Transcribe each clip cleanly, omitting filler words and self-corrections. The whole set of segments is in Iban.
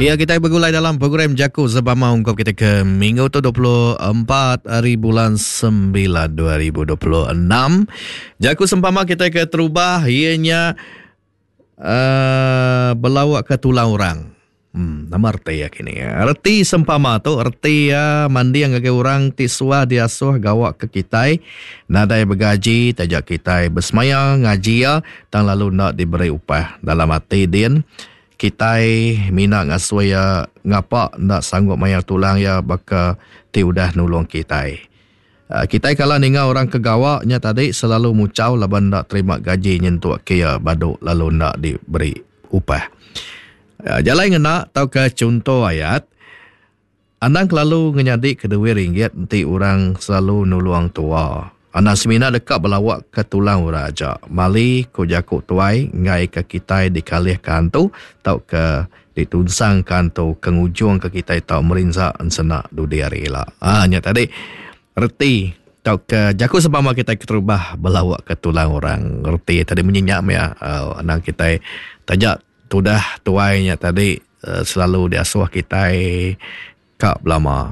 Ya kitai begulai dalam program Jaku Sempama ungkup kita ke minggu tu 24 hari bulan 9 2026. Jaku sempama kita ke terubah ianya uh, belawak ke tulang orang. Hmm, nama reti iya kini? Reti sempama tu reti iya manding ngagai orang ti suah diasuh gawa ke kitai nadai begaji taja kitai besemaya ngaji iya tang lalu enda diberi upah. Dalam ati din kitai mina ngasuh iya ngapa enda sanggup mayar tulang iya baka ti udah nulung kitai. Kitai kala ninga orang ke gawa nya tadi selalu muchau laban enda terima gaji nyentuk ke iya badu lalu enda diberi upah. Jalai ngena tauka chunto ayat, Anang kelalu ngenyadika duit ringgit enti orang selalu nulung tua. Anang semina deka belawaka tulang orang aja. Mali ku jaku tuai enggaika kitai dikalihka antu tauka ditunsangka antu ke ngujungka kitai tau merinsa ensena dudi hari ila. Haa nya tadi reti tauka jaku sempama kitai keterubah belawaka tulang orang. Reti tadi munyi nya meh anang kitai taja Tudah tuai nya tadi selalu diasuh kitai ka belama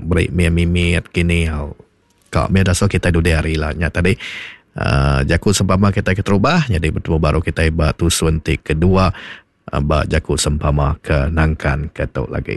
beri mih mimit kini ka mih dasuh kitai dudi hari ila nya tadi uhh jaku sempama kitai keterubah nyadi betemu baru kitai ba tusun ti kedua ba jaku sempama ke nangkan ke tu lagi.